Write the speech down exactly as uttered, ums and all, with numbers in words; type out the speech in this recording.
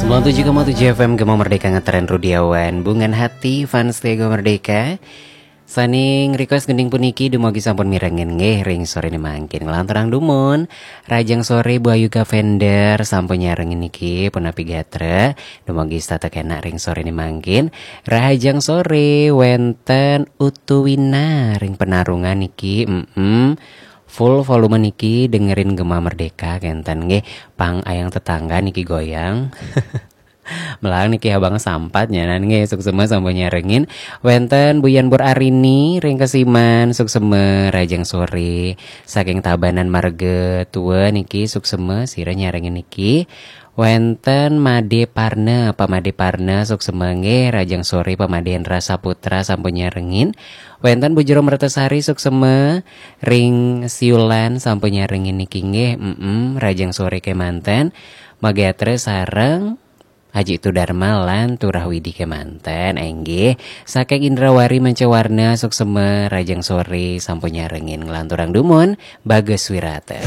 Nol tujuh koma tujuh F M Gema Merdeka ngetren Rudiawan Bungan Hati fans Gema Merdeka. Saning request gending puniki dumugi sampun mirengin nggih ring sorene mangkin. Nglanturang dumun, rahajeng sore Bu Ayu Gavender sampun nyarengin niki punapi gatra. Dumugi setata kenak ring sorene mangkin. Rahajeng sore wenten Utuwina ring Penarungan niki. Mm-mm. Full volume niki dengerin Gema Merdeka kenten nggih. Pang ayang tetangga niki goyang. Melang niki abang sampat nyanan nggih, suksema sampun nyarengin. Wenten Buyan Bur Arini ring Kesiman, suksema rahajeng sore. Saking Tabanan Marga Tua niki suksema sira nyarengin niki. Wenten Made Parna, Pak Made Parna suksema nggih, rahajeng sore. Pak Made Hendra Saputra sampun nyarengin. Wenten Bu Jero Mertasari suksema ring Siulan sampun nyarengin niki nggih. Mm-mm, rahajeng sore kemanten. Magatra sareng Haji Tudarma lan Turah Widi kemanten, inggih. Saking Indrawari Mancawarna suksema rahajeng sore sampun nyarengin. Nglanturang dumun, Bagus Wirata.